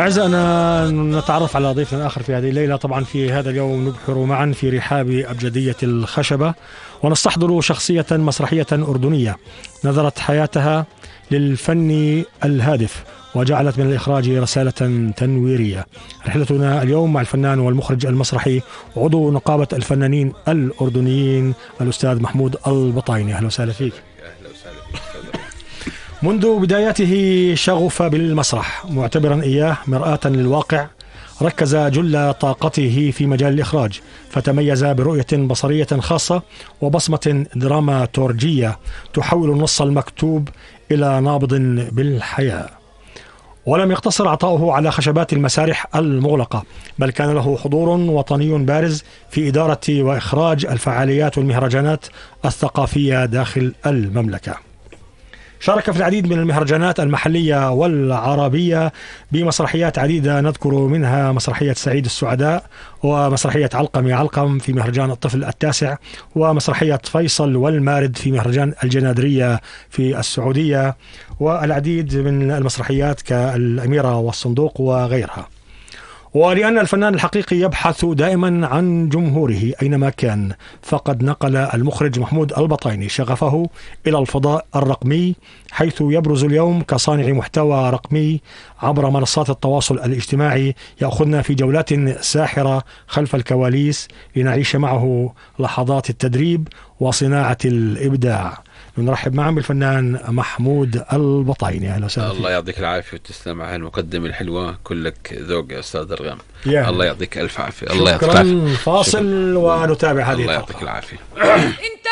أعزائنا نتعرف على ضيفنا آخر في هذه الليلة. طبعا في هذا اليوم نبحر معا في رحاب أبجدية الخشبة ونستحضر شخصية مسرحية أردنية نذرت حياتها للفن الهادف وجعلت من الإخراج رسالة تنويرية. رحلتنا اليوم مع الفنان والمخرج المسرحي عضو نقابة الفنانين الأردنيين الأستاذ محمود البطايني. أهلا وسهلا فيك. منذ بداياته شغف بالمسرح معتبرا إياه مرآة للواقع، ركز جل طاقته في مجال الإخراج فتميز برؤية بصرية خاصة وبصمة دراماتورجية تحول النص المكتوب إلى نابض بالحياة. ولم يقتصر عطاؤه على خشبات المسارح المغلقة، بل كان له حضور وطني بارز في إدارة وإخراج الفعاليات والمهرجانات الثقافية داخل المملكة. شارك في العديد من المهرجانات المحلية والعربية بمسرحيات عديدة، نذكر منها مسرحية سعيد السعداء ومسرحية علقم يا علقم في مهرجان الطفل التاسع، ومسرحية فيصل والمارد في مهرجان الجنادرية في السعودية، والعديد من المسرحيات كالأميرة والصندوق وغيرها. ولأن الفنان الحقيقي يبحث دائما عن جمهوره أينما كان، فقد نقل المخرج محمود البطايني شغفه إلى الفضاء الرقمي، حيث يبرز اليوم كصانع محتوى رقمي عبر منصات التواصل الاجتماعي، يأخذنا في جولات ساحرة خلف الكواليس لنعيش معه لحظات التدريب وصناعة الإبداع. نرحب معا بالفنان محمود البطايني. أهلا وسهلا. الله يعطيك العافية وتسلم على المقدمة الحلوة، كلك ذوق يا أستاذ درغام. الله يعطيك ألف عافية. الله يعطيك العافية. فاصل ونتابع هذه. الله يعطيك العافية. انت